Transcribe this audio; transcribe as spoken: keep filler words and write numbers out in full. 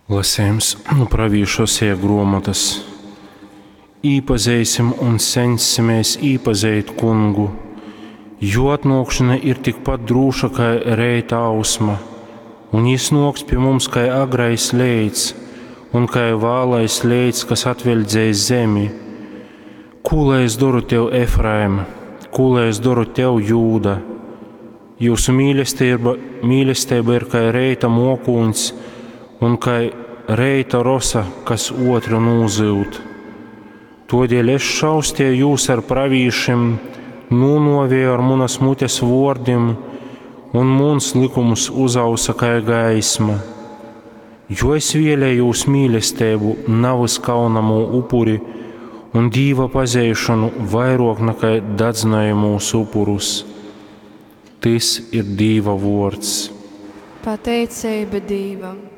Lasējums nu pravīša Oseja gruomotys. Īpazeisim un ceņssimēs īpazeit Kungu. Juo atnuokšona ir tikpat drūša kai reita ausma, un jis nuoks pi mums kai agrais leits un kai vālais leits, kas atveļdzej zemi. Kū lai es doru tev, Efraim? Kū lai es doru tev, Jūda? Jūsu mīlestība, mīlestība ir kai reita mokūņs un kai reita rosa, kas otru nūzyud. Todēļ es šaustēju jūs ar pravīšim, nūnovēju ar munas mutes vordim, un muns likums uzausa kai gaisma. Jo es vēlējos mīlestību, navys kaunamū upuri, un Dīva pazeišanu vairāk nekā dadzinājumus upurus. Tys ir Dīva vords. Pateiceiba Dīvam!